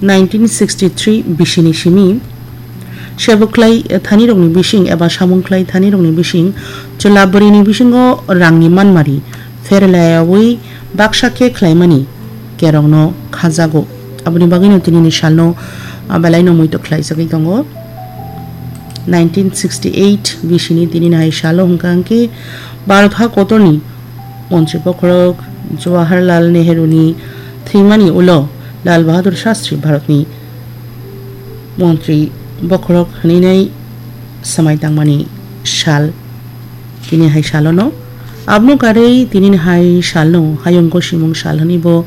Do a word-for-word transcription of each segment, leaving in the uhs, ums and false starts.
Nineteen sixty-three bisini simi, sebo khlai thanirokni bising eba samung khlai thanirokni bising, chwla bwrwini bisingo rangni manmari pherlayaui baksa khe khlaimani kerongno khajago. Aboni bagwino tinini salno, ah, belaino muito khlaijagwi tongo. Nineteen sixty-eight bisini tinini hai salo hwnkha hwnkhe Bharat ha kotorni Montri bokhorok Jawaharlal Nehru ni thwimani ulo Lal Bahadur Shastri Bharatni Montri bokhorok hwnwi nai swmai tangmani sal tini hai salono. Abono karwi tinini hai salno Hayung Gosimung sal hwnwi bo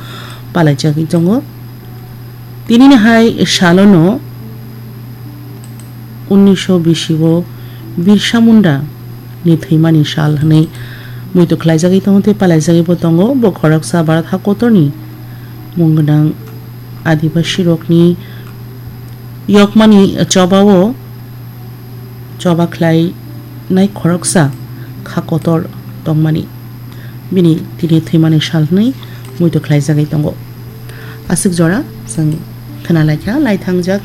palaijagwi tongo. Tinini hai salono unnisho bisi o Birsa Munda ni thwimani sal hwnwi muitu khlaijagwi tongo tei palaijagwi bo tongo. Bo khoroksa Bharat hakotorni mung gwnang Adibasi rokni yokmani choba o choba khlainai khoroksa kha kotor tongmani bini tini thwimani sal hwnwi muitu khlaijagwi tongo. Aswk jora chwng khwnalaikha laithangjak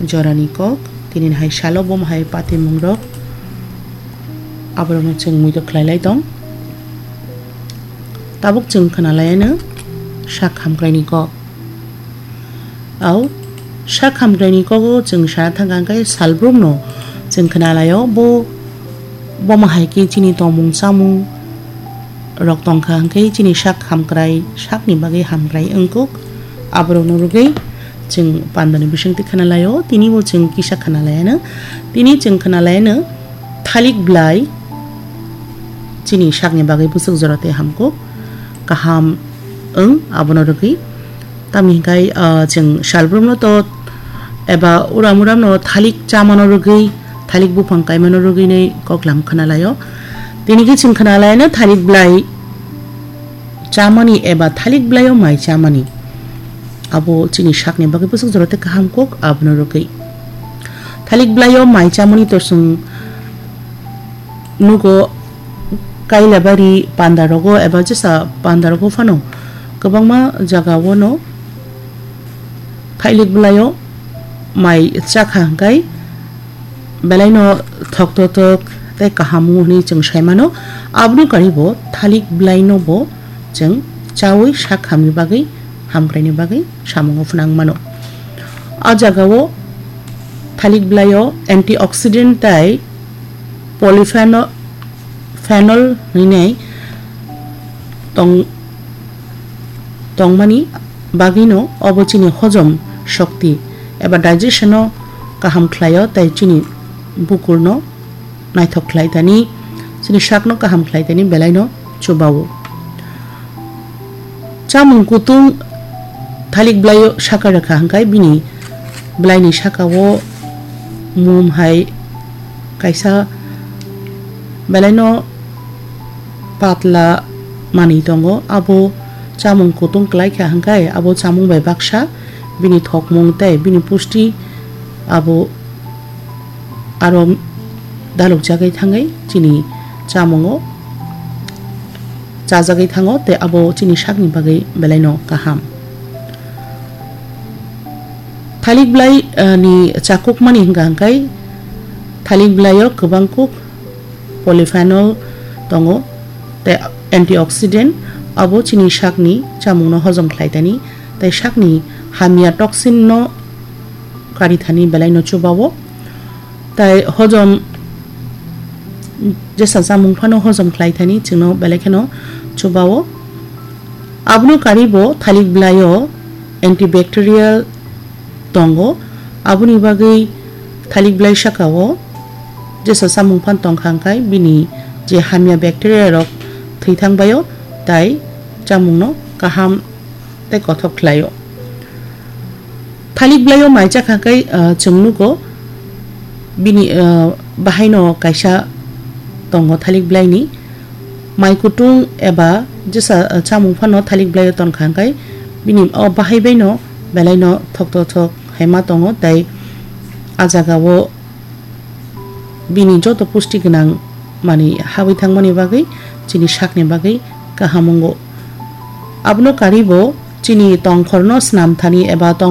jorani kok, tini hai salo bo hai patimungrok aborokno chwng muitu khlailai tong. Tabuk chwng khwnalaiano sak hamkraini kok. Au, sak hamkraini kogo chwng sana thangkha hwnkhe salbrumno chwng khwnalaio, bo, bomo hai khe chini tongmung chamung rok tongkha hwnkhe chini sak hamkrai, sakni bagwi hamkrai wngkuk. Aborokno rwgwi chwng pandani bisingtwi khwnalaio, tinibo chwng kisa khwnalaiano, tini chwng khwnalaiano thalik blai chini sakni bagwi bwswk jora tei hamkuk kaham wng, abono rwgwi. Tamni hwnkhe, ah, chwng salbrumno to eba uram uramno thalik chamano rwgwi, thalik buphang kaimano rwgwinwi koklam khwnalaio. Tini khe chwng khwnalaino thalik blai chamani eba thalik blaio mai chamani. Abo chini sakni bagwi bwswk jora tei kaham kok abono rwgwi. Thalik blaio mai chamani to chwng nugo Kailabari pandarogo eba jesa pandarogo phano kwbangma jagao no thalik blaio mai chakha hwnkhe belaino thoktotok tei kaham wng hwnwi chwng sai mano. Aboni karibo thalik blaino bo chwng chaui sak hamni bagwi, hamkraini bagwi samungo phwnang mano. A jagao thalik blaio antioxidant tei polypheno-, phenol hwnwi tong-, tongmani bagwino obo chini hojom shokti eba digestion-o kaham khlaio tei chini bukurno naithok khlai tani, chini sakno kaham khlai tani belaino chubao. Chamung kutung thalik blaio saka rwkha hwnkhe bini blaini sakao mum hai kaisa belaino patla manwi tongo. Abo chamung kutung kwlai kha hwnkhe abo chamung bai baksa bini thokmung tei bini pusti abo aro dalukjagwi thangwi chini chamungo chajagwi thango tei abo chini sakni bagwi belaino kaham. Thalik blai, eh, ni chakukmani hwnkha hwnkhe thalik blaio kwbang kuk polyphenol tongo tei antioxidant, abo chini sakni chamungno hojom khlai tani tei sakni hamya toxin no kari thani belaino chubao. Tai hojom jesa chamung phano hojom khlai thani chwngno belai kheno chubao. Abono karibo thalik blaio antibacterial tongo, aboni bagwi thalik blai sakao jesa chamung phan tongkha hwnkhe bini je hamya bacteria rok thwi thangbaio, tai chamungno kaham tei kothok khlaio. Thalik blaio mai chakha khe, ah, chwng nugo bini, ah, bahaino kaisa tongo thalik blaini mai kutung eba jesa, ah, chamung phano thalik blaio tonkha hwnkhe bini o bahai baino belaino thokto thok hai ma tongo tei a jagao bini joto pusti gwnang manwi habwi thangmani bagwi chini sakni bagwi kaham wngo. Abono karibo chini tongkhorno swnam thani eba tong